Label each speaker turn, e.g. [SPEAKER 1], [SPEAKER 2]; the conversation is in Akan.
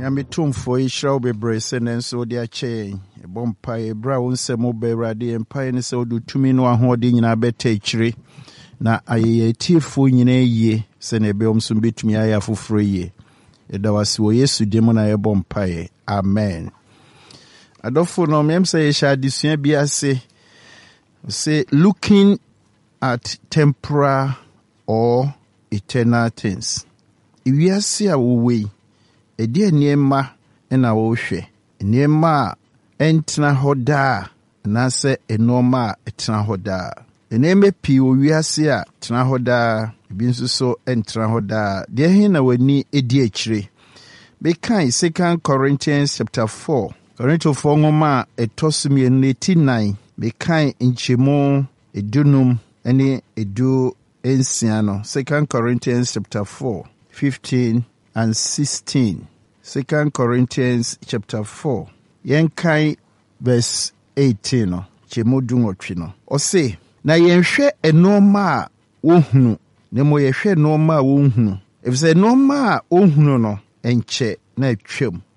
[SPEAKER 1] Nyame Tumfoɔ yɛhyira wo bebree sɛ nnɛ nso wode akyɛ yɛn. Yɛbɔ mpaeɛ berɛ a wo nsɛm wobɛ Awurade yɛn mpaeɛ ne sɛ wode tumi no ahoɔden nyinaa bɛta akyire na ayɛ yɛn atiefoɔ nyinaa yie sɛnea ɛbɛyɛ wɔn nso bɛtumi ayɛ afoforɔ yie. Yɛda wo ase wɔ Yesu din mu na yɛbɔ mpaeɛ. Amen. Adɔfo no, meɛm sɛ yɛhyɛ adesua bi ase sɛ looking at temporal or eternal things. Ewiase a wowɔ yi, ɛdeɛ nneɛma na wohwɛ? Nneɛma a ɛntena hɔ daa anaasɛ nneɛma a ɛtena hɔ daa? Nneɛma pii wɔ wiase a tena hɔ daa, ebi nso so ntena hɔ daa. Deɛ he na w'ani di akyire? Mekan Second Corinthians chapter 4, Korintofoɔ nwoma a ɛtɔ so mmienu no ti nan, mekan nkyɛmu 15 ne 16 no. Second Corinthians chapter 4, 15 and 16. Second Corinthians chapter 4. Yɛnkan verse 18 no, nkyɛmu 18 no. Ɔse, na yɛnhwɛ nneɛma a wohunu, na mmom yɛhwɛ nneɛma a wonhunu. Efisɛ nneɛma a wohunu no, ɛnkyɛ na atwam.